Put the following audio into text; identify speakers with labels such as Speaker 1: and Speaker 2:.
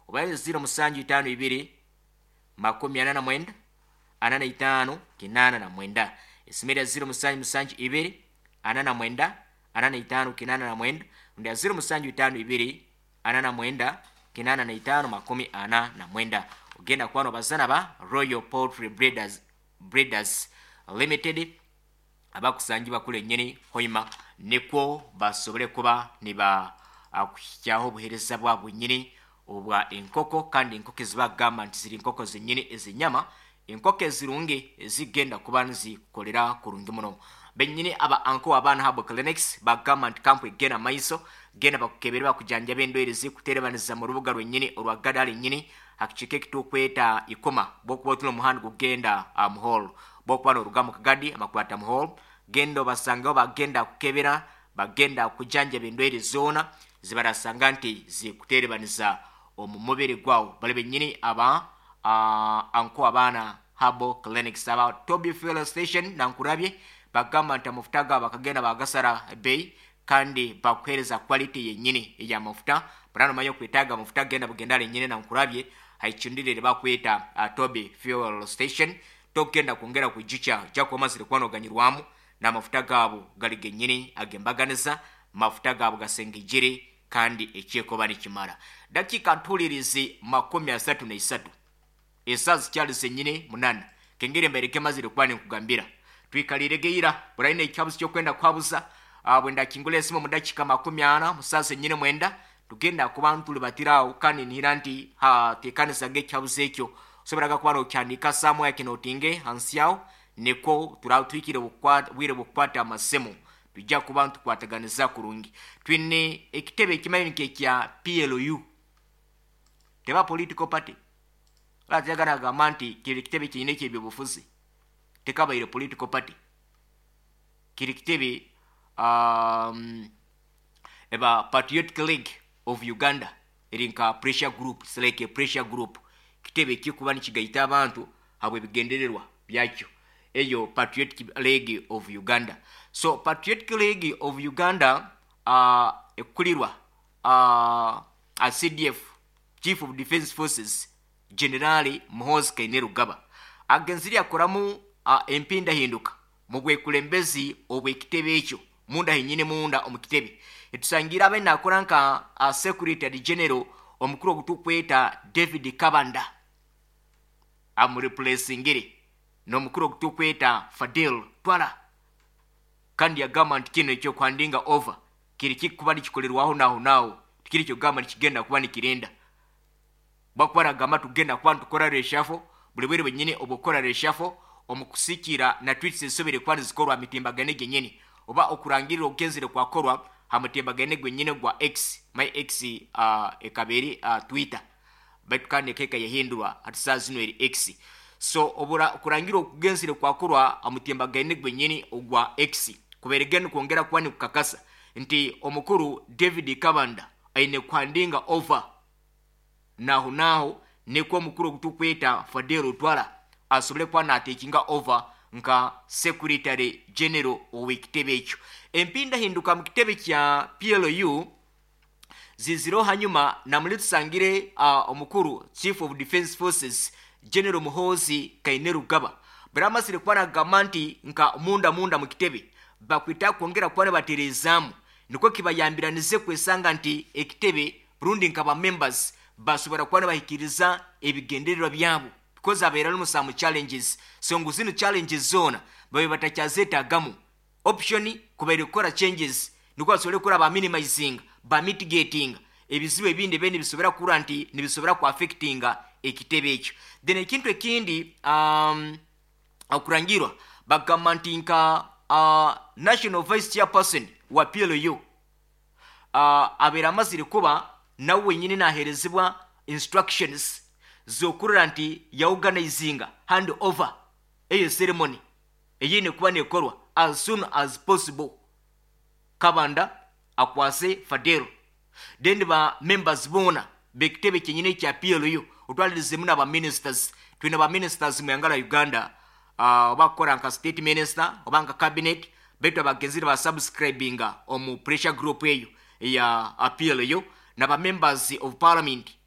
Speaker 1: Oba 0752 49 45 89. Esimu ya 0772 49 45 89 rundi ya 0752 49 85 49. Ogenda kuba nobazana ba Royal Poultry Breeders Limited abakusangibwa kule nyini Hoima, nikwo basobole kuba niba kuhikyaho obuheereza bwabwe nyini obwa enkoko, kandi enkoko ezibagamba nti ziri nkoko zenyini ezenyama, enkoko ezirungi ezigenda kuba nizikukolera kurungi muno. Benyini aba anko abaana habo clinics bagamba nti kampu egenda maiso, genda bakukebere, bakujanjaba endwaire zikuterebaniza mu rubuga rwenyini orwa Gadali nyini hakikiika ekitukweta Ikoma. Bwokuba otula omuhanda gugenda Muholo, bwokuba noruga mu Kagadi amakwata Muholo, genda obasangaho, bagenda kukebera, bagenda kujanjaba endwaire zoona zibarasanga nti zikuterebaniza omu mubiri gwawo. Bali benyini aba anko abaana habo clinics. Aba Toby Fuel Station Nankurabye bagamba nti amafuta gabo bakagenda bagasara bei, kandi bakuhereza quality yenyini ey'amafuta. Burano omanya okwetaaga amafuta, genda bugenda lenyini Nankurabye haicundire bakweta Toby Fuel Station. Togenda kwongera kwijukya, ojja kuba omazire kuba noganyirwamu n'amafuta gaabo gali genyini agembaganiza, mafuta gaabo gasengejere kandi ekyekoba nikimara. Dakika ntulirizi 33, esaa zikyali zenyini 8. Kengeri mbaireke mazire kuba ninkugambira twikalire geira buraine ekyabuzi kyokwenda kuhabuza. Bwenda kingula esimu mu dakika 40 musaa zenyini 9, tugenda kuba ntulibatirawo, kandi nihira nti tekanisaga ekyabuzi ekyo, osoboraga kuba nokyandika samwaya kinotinge hansi yawo, nikwo turatwikire bwire bwokukwata amasimu, tujja kuba ntukwataganiza kurungi. Twine ekitebe ekimanyi nk'ekya PLU, teba political party. Ratyaga nagamba nti kiri kitebe kiine ekyebyobufuzi, tekabaire political party, kiri kitebe eba Patriotic League of Uganda, eri nka pressure group. It's like a pressure group, kitebe kikuba nikigaita abantu habw'ebigendererwa byakyo, eyo Patriotic League of Uganda. So Patriotic League of Uganda ekulirwa CDF, Chief of Defense Forces, Generali Muhoozi Kainerugaba, agenzire akoramu empindahinduka mu bwekulembezi obw'ekitebe ekyo munda henyini. Munda omu kitebe etusangira abe nakora nka Secretary General omukuru ogutukweta David Kabanda, amureplacingire n'omukuru ogutukweta Fadil Twala, kandi yagamba nti kino ekyokuhandinga over kiri kikuba nikikolerwaho naho naho, tikiri kyogamba nikigenda kuba nikirinda. Bakuba nagamba tugenda kuba nitukora reshuffle buli bwire bwenyini. Obukora reshuffle omukusikira na tweets ezisobere kuba nizikorwa mitimbagano genyini, oba okurangirira okugenzere kwakorwa ha mutimbagano gwenyini gwa X, my X ekaba eri Twitter, baitu kandi ekeka yahindurwa, hati saa zino eri X. So obura okurangira okugenzere kwakorwa ha mutimbagano gwenyini ogwa X kuberege nikwongera kuba nikukakasa nti omukuru David Kabanda aine kuhandinga over naho naho, nikwo omukuru ogutukweta Fadel Twala asobole kuba natekinga over nka Secretary General ow'ekitebe ekyo. Empindahinduka mu kitebe kya PLU zizireho hanyuma namuli tusangire omukuru Chief of Defense Forces General Muhoozi Kainerugaba baramasire kuba nagamba nti nka munda munda mu kitebe bakwita kwongera kuba nibatereezaamu, nikwo kibayambiranize kwesanga nti ekitebe rundi nka ba members basobora kuba nibahikiriza ebigendererwa byabo, because abeera alimu some challenges. So ngu zino challenges zoona babe batakyazeetagamu, option kubaire kukora changes, nikwo basobole kukora ba minimizing, ba mitigating ebizibu ebindi ebindi nibisobora kukura nti nibisobora kuaffectinga ekitebe ekyo. Then ekintu ekindi, okurangirwa bagamba nti nka national vice chairperson wa PLU abeera amazire kuba nawe wenyini naherezibwa instructions zokurora nti yaorganizinga hand over eyo ceremony eyine kuba nekorwa as soon as possible, Kabanda akwase Fadero, then ba members boona bekitebe kyenyini ekya PLU, otwalirizemu n'aba ministers. Twine ba ministers mu yanga la Uganda, oba kukora nka state minister oba nka cabinet, baitu abagenzire ba subscribinga omu pressure group eyo eya PLU, n'aba members of parliament.